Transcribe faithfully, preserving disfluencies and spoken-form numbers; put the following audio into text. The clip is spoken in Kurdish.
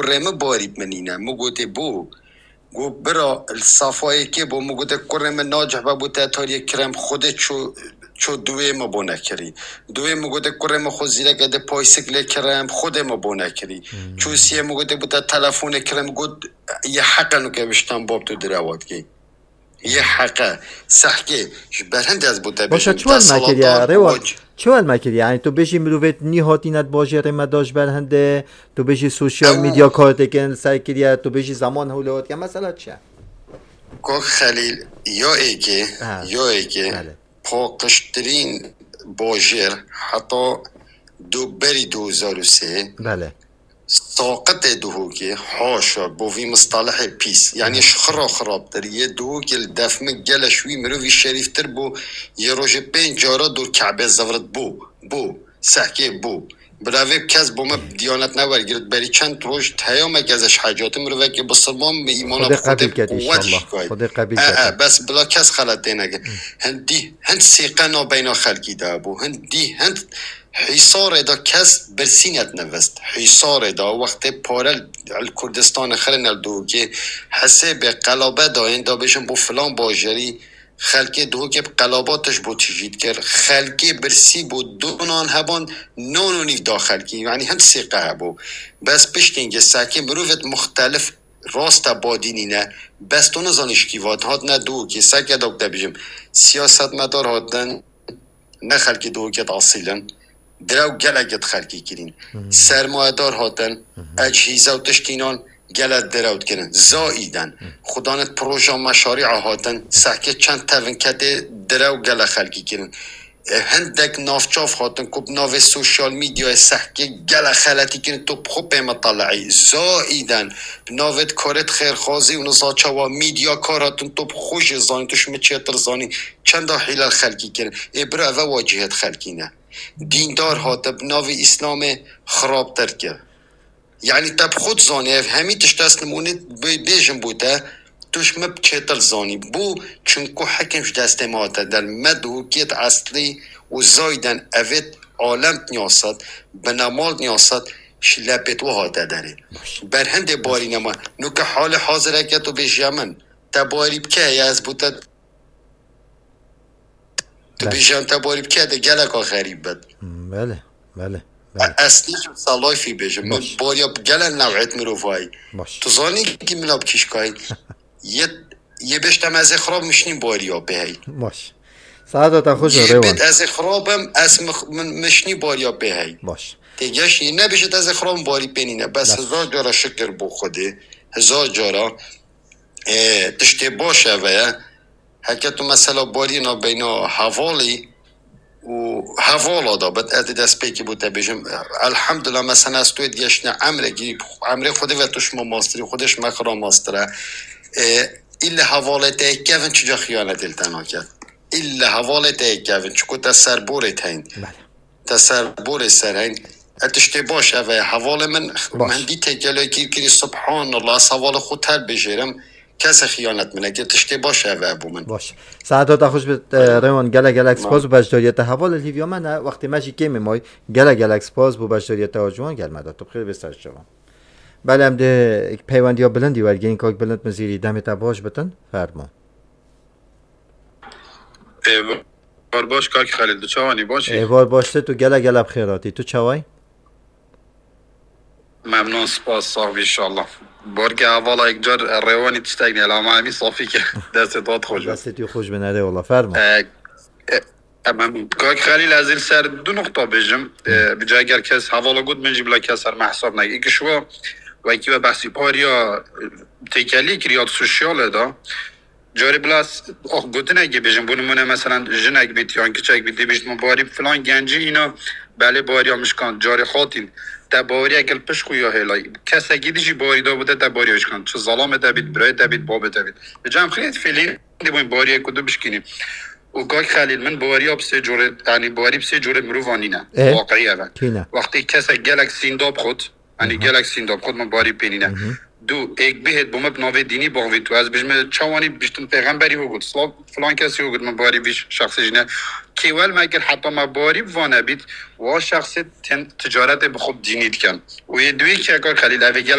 kurê min barî bi min nîne. Min gotê bo. Got bira, li safa yekê bo. Min gotê kurê min nacih be bo te tariyê kirem, Xwedê ço, ço duwê min bo nekirî. Duwê min gotê kurê min xwe zîreke de paysik lê kirem, Xwedê min bo nekirî. Ço siyê min gotê bo te telefonê kirem, got yê heqe nuke wiştan bab tu direwa dikê. Yê heqe, sehkê, ji ber hindê ez bo te Başa bêjim, çi wel me kiriye, desalata Rêwan? Çi wel me kiriye? Yani tu bêjî mirovêt nî hatîne di bajêrê me de ji ber hindê, tu bêjî sosyal Ew medya kartêkin li ser kiriye, tu bêjî zeman hewlewetiye. Mesela çi ye? Kok Xelîl, ya êkê, Ha, ya êkê, belê. Paqijtirîn bajêr heta du berî du hezar û sê. Belê. Saqitê Duhokê, haşa, bo vî mistalihê pîs. Yani ji xira xirabtir. Yê Duhokê li def min gele ji wî mirovî şerîftir bû, yê rojê pênc cara dor Ke'bê zevrit bû, bû, sehkê bû. Bila vê kes bo me diyanet newergirt, berî çend roj teya me ke ez ji hecatê mirovekê bisilman bi îmana Xwedê bi Xwedê qebîl ket quwet înşallah. Jî kay. Xwedê qebîl E, ket. E, bes bila kes xelet tê nekin. Hindî, hind sêqe nabeyna xelkî de bû. Hindî, hind Hîsarê de kes birsînet nevist. Hîsarê de wextê pare li Kurdistanê xirine li Duhokê, hesêbê qelabe dayên da bêjin bo filan bajarî, xelkê Duhokê bi qelaba tişt bo tijî dikir. Xelkê birsî bo, du nan heban, nan û nîv da xelkî. Yani hind sêqe hebû. Bes piştî hingê sehkê mirovêt muxtelif raste badî nîne. Bes tu nizanî ji kî vat, hatine Duhokê, seke da ku te bêjim. Siyasetmedar hatin, ne xelkê Duhokê asîl in. Direw gelek di xelkî kirîn. Sermayedar hatin, ecihîze û tiştînan gelek direw dikirin. Zaîden, xudanit proja meşarî'a hatin, sehkê çend tevin ketê direw gelek xelkî kirin. E, hindek navçav hatin ku bi navê sosyal medyayê sehkê gelek xeletî kirin, tu bi xwe pê mitele'î. Zaîden, bi navê karêt xêrxwazî û niza çawa medyakar hatin, tu bi xwe jî zanî, tu ji min çêtir zanî. Çenda hîle li xelkî kirin. Ê bira, eve wacihêt xelkî ne. Dîndar hate bi navê Îslamê xirabtir kir. Yani te bi xwe dizanî, ev hemî tişt ez nimûnê bê-, bêjim bo te, tu ji min çêtir zanî. Bo? Çunku hekim ji destê me hate der. Me Duhokêt eslî û zayden evêt alem niyasat, binemal niyasat, ji lepêt we hate derê. Ber hindê barîne me. Nuke halê hazireke tu bêjiya min. Te barî bike, ya ez bo te Tu Belê. bêjî em te barî bike de geleka xerîb bit. Hmm, belê, belê, belê. E, ez nêjim salayfî bêjim. Min Baş. bariya bi gelek new'êt mirovayî. Baş. Tu zanî kî min a bi kîşkayî. Yê, yê bêjtem ez ê xirab mişnî bariya pê hey. Baş. Saeta te xweş be, Yê Rêwan. bêt ez ê xirabim, ez mix-, min mişnî bariya pê hey. Baş. Tê geş yê nebêjit ez ê xirabim barî pê nîne. Bes Baş. hezar cara şikir bo Xwedê. Hezar cara. E, tiştê baş eve ye. Heke tu mesela barî nabeyna hevalî û hevala da bit, ez dê destpêkî bo te bêjim. Elhamdulillah, mesela ez tu yê digeştine emrekî, emrê Xwedê ve tu şima mastirî, Xwedê şima xira mastir e. E, îlle hevalê te yê kevin çica xiyanetê li te naket. Îlle hevalê te yê kevin, çiko te ser borê te hîn. Belê. Te ser borê ser heyn. E, tiştê baş ev e. Hevalê min Baş. min dî têkelekî kirî, subhanallah, ez hevalê xwe ter bêjêrim. Kesê xiyanet min nekir. Tiştê baş ev e bo min. Baş. Saeta te xweş bit, e, Rêwan, gelek gelek spas û beşdariyê te. Heval li hîviya me ne, wextê me jî kêm e may. Gelek gelek spas bo beşdariyê te û ciwan gel me de. Tu bi xêr bê ser şevan. Belê em dê peywendiya Bilindî wergehîn, kak Bilind Mizîrî, demê te baş bitin. Fermo. Êvar baş kak Xelîl, tu çawanî, baş î? Êvar baş te, tu gele gele bi xêr hatî. Tu çawayî? Memnun, spas, sax bî inşallah. Barke hevala yek car Rêwanî tiştek nêla, ma hemî safî ke. Destê te xweş be. Destê tu xweş be, nerê wala, fermo. E, e, e, memnun. Kak Xelîl, ez ê li ser du nuqta bêjim. E, bi ca eger kes hevala got, min jî bila kes ser me hesab neke. Îkî şiwa wekî we behsî pariya, e, têkelî kiriya di sosyalê de. Carê bila s-, oh, gotinekê bêjin, bo nimûne, meselan, jinek bît yan kiçek bît, dê bîst min barî filan gencî îna, belê bariya min şikand, carê xatîn, te baweriya gel pişt xwe ya hêlay. Kesekî dî jî barî da bû te, te bariya şikand. Çi zalamê te bît, birayê te bît, babê te bît. Li cem xirêt fêlîn dê bûn bariya ku tu bişkînî. Û kak Xelîl, min baweriya bi sê corê, yanî baweriya bi sê corê mirovan nîne. E? Waqiya ve. Tîne. Wextê kesek gelek sînda bi xwe, Yanî gelek sînda bi xwe min barî pê nîne. Du, êk bihêt bo me bi navê dînî bavît û ez bijime çawanî biştin pêxemberî ho got, filan, filan kesî ho got, min barî vî şexsê jî ne. Kêwel me kir heta me barî bi vane bît, wa şexsê tên ticaretê bi xwe bi dînî dikin. Û yê duyê keka Xelîl, ev ê